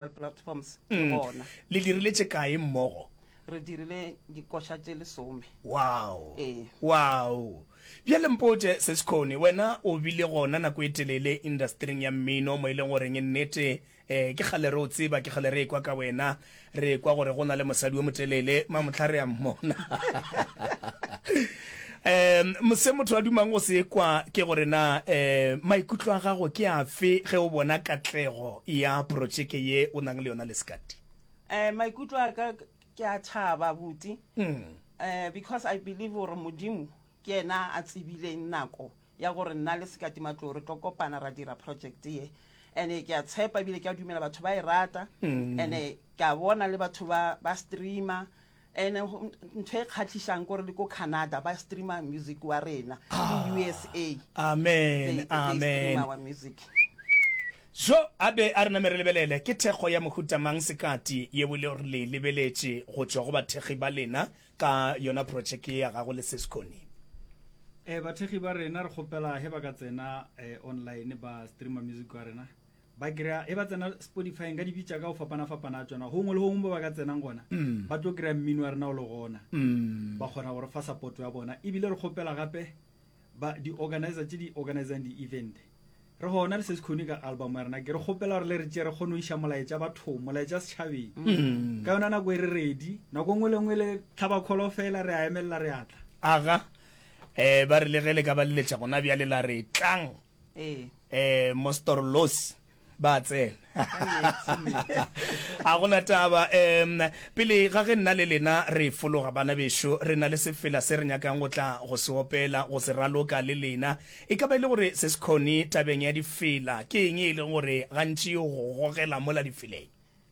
Platforms ke gona. Le dirile tše kae mmogo? Re dirile dikoša tše lesome. Wow. Ee. Wow. Bjale mpotše, Seskhoni, wena o bile gona nako e telele industering ya mmino mo e leng goreng nnete eh, ke kgale re o tseba, ke kgale re ekwa ka wena, re ekwa gore go na le mosadi yo motelele, mamohla re a mmona. Um se motho a dumang go se kwa ke gore na um maikutlo a gago ke afe ge o bona katlego ya protšeke ye o nang le yona le Sekati? Um maikutlo a ka ke a thaba buti um because I believe gore Modimo ke yena a tsebileng nako ya gore nna le Sekati Matlou re tlo kopana ra dira project ye and ke a tshepa ebile ke a dumela batho ba e rata and ke a bona le batho ba ba streamer Ene ntho e kgatlhišang kore le ko Canada ba streamer music wa rena le USA. Amen, They, they amen. stream our music. Jo a be a re name re lebelele ke thekgo ya mohuta mang Sekati yeo e le gore le e lebeletše go tšwa go bathekgi ba lena ka yona projeke ye ya gago le Sesconi. Eh, bathekgi ba rena re kgopela he ba ka tsena eh, online ba streamer music wa rena ba kry-a e ba tsena spotify nka di bitša ka go fapana-fapana a tsona gongwe le gongwe mo ba ka tsenang gona mm. ba tlo kry-a mmino wa rena o le gona mm. ba kgona gore fa support ya bona ebile re kgopela gape ba di-organizer tse di organizang di-event re gona le se se kgone ka album ya rena ke re kgopela gore le re tše re kgone go iša molaetša bathong molaetša setšhabeng mm. ka yona nako e re ready nako nngwe le nngwe le tlhaba kholo fela re a emelela re atla aga um ba re le ge le ka ba leletša gona bjale la re tlang Ee. Eh, Mostor Los ba tsena. A gona taba. Um, pele ga ge nna le lena re fologa bana bešo, re na le sefela se re nyakang go tla go se opela, go se raloka le lena. E ka ba e le gore se se khone tabeng ya difela, ke eng e leng gore gantši e go gogela mola difeleng?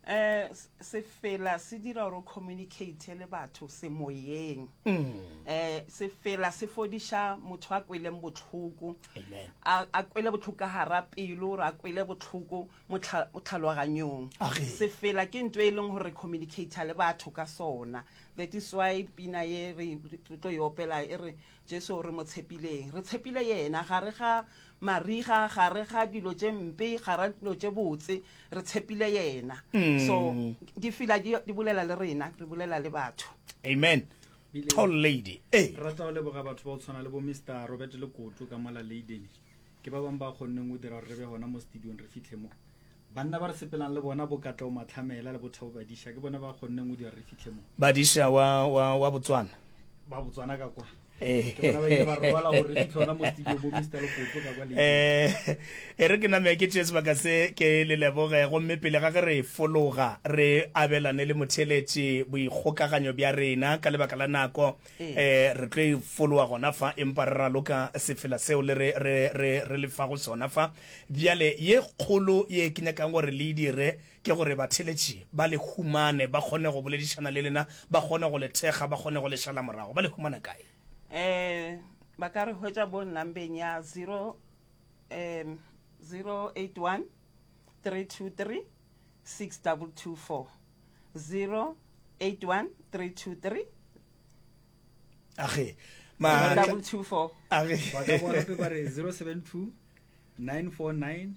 Um sefela se dira gore o communicate le batho semoyeng. Um sefela se fodiša motho a kweleng bohloko, a a kwele bohloko ka gara pelo, gore a kwele bohloko mo tlhaloganyong. Sefela ke ntho e leng gore re communicate le batho ka sona. That is why pina ye re tlo e opela e re Jesu re mo tshepileng. Re tshepile yena gare ga mariga, gare ga dilo tše mpe, gara dilo tše botse, re tshepile yena. So difela di, di bolela le rena, re bolela le batho. Amen. Bile- Tall lady. Ee. Re rata go leboga batho ba go tshwana le bo Mr Robert Lekoto ka mola Leiden. Ke ba bangwe ba kgonneng go dira gore re be gona mo studiong re fitlhe mo. Banna ba re sepelang le bona bo Katlego Matlhamela le bo Thabo Badisha ke bona ba kgonneng go dira re fitlhe mo. Badisha wa, wa, wa Botswana. Ba Botswana ka kwa. Ke bona ba ile ba robala gore re fitlhe gona mo studio bo Mister Lekoto ka kwa Leiden. Eh, e re ke name ke tšee sebaka se ke le leboge gomme pele ga ge re fologa re abelane le motheeletši boikgokaganyo bja rena ka lebaka la nako eh re tlo e fologa gona fa empa re raloka sefela seo le re re re re le fago sona fa Bjale, ye kgolo ye ke nyakang gore le e dire ke gore batheeletši ba le humane, ba kgone go boledišana le lena, ba kgone go le thekga, ba kgone go le šala morago. Ba le humana kae? Um ba ka re hwetša bo nambeng ya 0 um 081 323 6224 081 323 Age. 224 Age. Ba ka boa gape ba re 072 949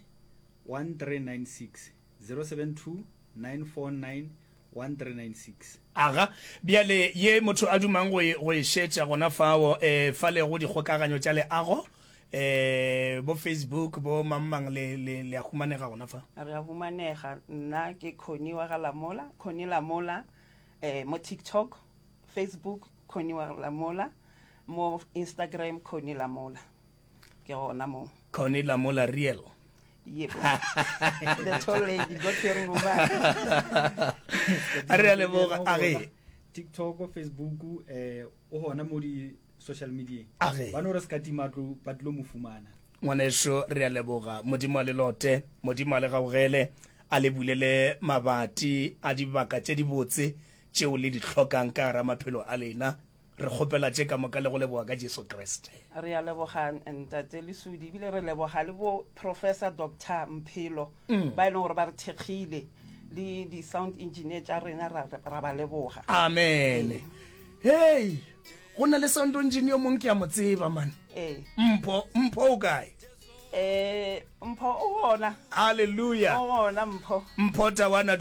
1396 072 949 1396. Aga, bjale ye motho a dumang go e, go e šetša gona fao, e, fale go dikgokaganyo tša leago, e, bo Facebook, bo mang-mang, le, le, le a humanega gona fa? Re a humanega. Nna ke Connie wa ga Lamola, Connie Lamola, e, mo TikTok, Facebook, Connie wa Lamola, mo Instagram, Connie Lamola. Ke gona mo. Connie Lamola real. Yebo. The tall lady, God fearing woman. A re a leboga, a re. TikTok, Facebook, eh, o gona mo di social media. A re. Ba no re se ka tima tlo ba tlo mo fumana. Ngwaneso re a leboga. Modimo a le lote, Modimo a le gaugele, a le bulele mabati a dibaka tše dibotse tšeo le di hlokang ka gara maphelo a lena. Re kgopela tše ka moka le go leboga ka Jesu Kriste. Re a leboga Ntate Lesudi ebile re leboga le bo Professor Doctor Mphelo ba e leng gore ba re thekgile le di sound engineer tša rena ra, ra ba leboga. Amen. Hei, go na le sound engineer yo mongwe ke a mo tseba man. Ee. Mpho, Mpho o kae? Eh, Mpho o gona. Hallelujah. O gona Mpho. Mpho Tawana.